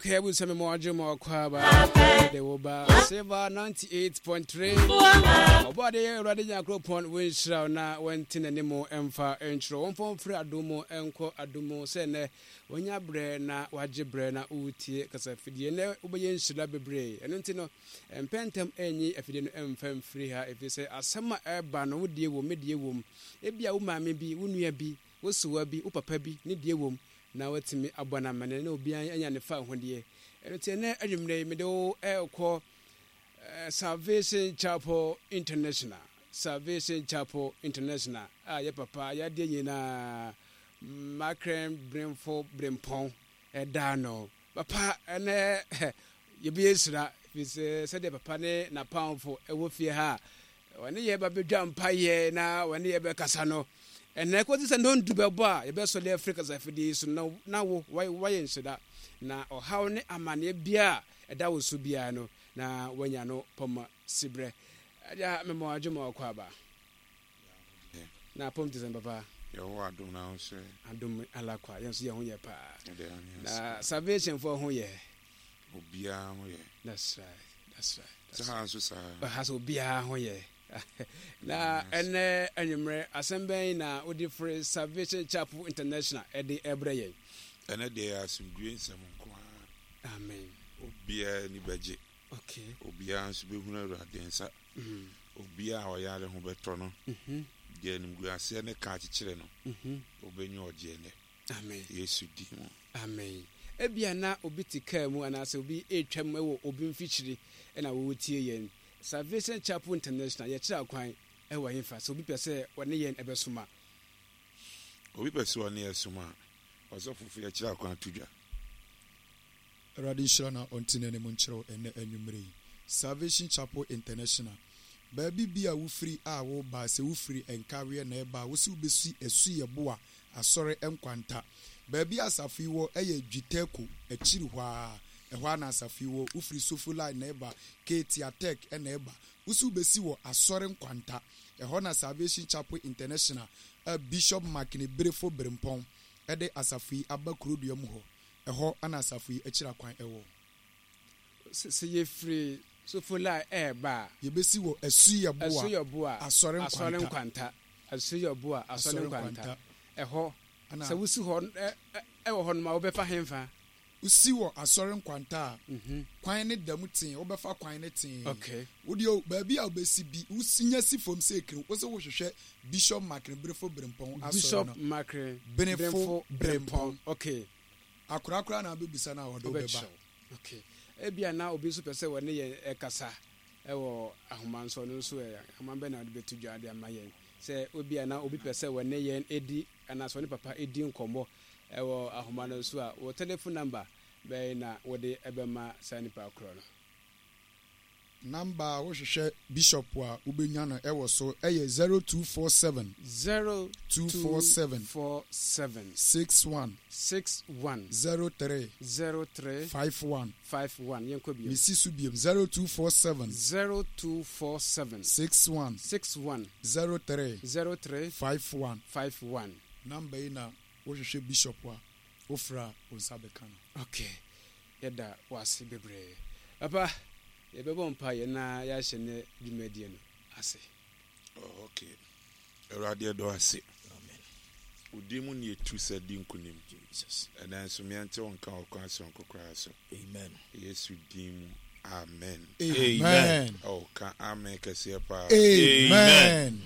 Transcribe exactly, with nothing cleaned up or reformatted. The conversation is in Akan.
Okay, abusua, me mo adwo ma ɔkɔ aba de wo ba Silver ninety-eight point three. Ɔbɔade Awurade Nyankopɔn wɔnhyira wo na wɔnte n'anim ɛmfa nkyerɛ wɔmfa mfiri adom mu ɛnkɔ adom mu sɛ nnɛ wɔnya berɛ na wagye berɛ na wotie kasafidie. Nnɛ wobɛyɛ nhyira bebree. Ɛno nti no, mpɛntɛm ɛnyi afidie no ɛmfa mfiri ha, ɛfiri sɛ asɛm a ɛba no, wodie wom, medie wom. Ebia wo maame bi, wo nua bi, wo sewa bi, wo papa bi ne die wom na watumi abɔ no amane na obiara anya ne fa ahodeɛ. Ɛno nti ɛnɛ adwummerɛ yi mede wo ɛrekɔ Salvation Chapel International, Salvation Chapel International a yɛ papa yɛadeɛ nyinaa Makrɛn Bremfo Brempɔn ɛda no. Papa, ɛnɛ yɛbɛyɛ nhyira, firi sɛ sɛdeɛ papa ne n'apamfo ɛwɔ fie ha a wɔne yɛ ba bɛdwa mpayɛ na wɔne yɛ bɛkasa no, ɛnɛ kɔsi sɛ nnɔndu bɛbɔ a yɛbɛsɔre afiri kasafidie yi so no, na wo wayɛ nhyira na ɔhaw ne amanneɛ biara a ɛda wo so biara no na wanya no pɔma siberɛ. Agya, mema adwo ma ɔkɔ aba na pɔm te sɛn, papa? Yɛwɔ adom na ho sɛ Adom alakwa, yɛn nso yɛn ho yɛ paa na Salvation foɔ ho yɛ. Obiara ho yɛ. That's right, that's right. Sɛ ha nso saa. Ha sɛ obiara ho yɛ. Na ɛnɛ anwummerɛ, asɛm bɛn na wode firi Salvation Chapel International ɛde ɛbrɛ yɛn? Ɛnɛ deɛ, yɛ asomdue nsɛm nko ara. Amen. Obiara ani bɛgye. Okay obiara nso bɛhunu Awurade nsa. mm. Obiara a ɔyare ho bɛtɔ no. mm-hmm. Deɛ animguaseɛ ne ka akyekyere no, mm-hmm. obɛnya ɔgyeɛ nɛ. Amen. Yesu din mu. Amen. Ebia na obi te kaa mu anaasɛ obi retwam wɔ obi mfikyiri ɛna wɔretie yɛn. Salvation Chapel International, yɛkyerɛ akwan ɛwɔ hefa, sɛ obi pɛ sɛ ɔne yɛn ɛbɛsoma? Obi pɛ sɛ ɔne yɛ som a, ɔsɔfo fo, yɛkyerɛ akwan to dwa. Awurade nhyira na ɔnte n'anim nkyerɛw ɛnɛ anwummerɛ yi. Salvation Chapel International, baabi bi a wofiri a woba, sɛ wofiri Nkaweɛ na ɛba a, wo sɛ wobɛsi Asuyɛboa Asɔre Nkwanta. Baabi a asafo yi wɔ ɛyɛ Dwitɛko akyiri hɔ a, ɛhɔ a na asafo yi wɔ. Wofiri Sofo Line na ɛba, Ketia Tech ɛna ɛba, wo sɛ wobɛsi wɔ Asɔre Nkwanta. Ɛhɔ na Salvation Chapel International a Bishop Makene Berefo Berempɔn ɛde asafo yi aba kurodua mu hɔ, ɛhɔ ana asafo yi akyiri akwan ɛwɔ. Sɛ yɛfiri Sofola ɛɛba a, yɛbɛsi wɔ Asuyɛboa Asuyɛboa Asɔre Asɔre Nkwanta. Nkwanta, Asuyɛboa Asɔre Asɔre Nkwanta. Nkwanta. Ɛhɔ Ana sɛ wosi hɔ ɛ- ɛ- ɛwɔ hɔ nom a, wobɛfa hemfa? Wosi wɔ Asɔre Nkwanta a, Mhm. kwan ne da mu tee, wobɛfa kwan ne tee. Okay wodeɛ o, baabi a wobɛsi bi, wosi nya si fam sɛ ekiri wo sɛ wohwehwɛ Bishop Makene Berefo Berempɔn asɔre Bishop no. Makre Benefo Benefo Berempɔn. Berempɔn, okay. Akorakora na wobɛbisa no a, ɔde wobɛba. Wobɛkyerɛw. Okay, ebia na obi nso pɛ sɛ wɔne yɛn ɛkasa ɛwɔ ahoma nso, ɔno nso ɛ ahoma bɛn na wɔde bɛto dwa de ama yɛn, sɛ obia na obi pɛ sɛ wɔne yɛn edi anaasɛ ɔne papa edi nkɔmmɔ ɛwɔ ahoma no nso a, wɔ telephone number bɛn na wɔde ɛbɛma saa nipa korɔ no? Number a wohwehwɛ Bishop a wobɛnya no ɛwɔ so ɛyɛ zero two four seven zero two four seven four seven six one six one zero three zero three five one. five one. Yɛnkɔ bio. Mesi so biom, zero two four seven zero two four seven six one six one zero three zero three five one. five one. Number yi na wohwehwɛ Bishop a, wofrɛ a, wo nsa bɛka no. Okay, yɛda wase bebree, papa. Yɛbɛbɔ mpa yɛ na yɛahyɛ ne dwumadie no ase. Oh, okay. Awurade, ɛdɔ ase wo din mu ne yɛtu sɛ di nkonim. Jesus. Ɛnɛ nso meɛnte wo nka wɔ kwan sononko koraa so. Amen. Yesu din mu, amen. Amen. Oh, ka amen kɛseɛ paa. Amen.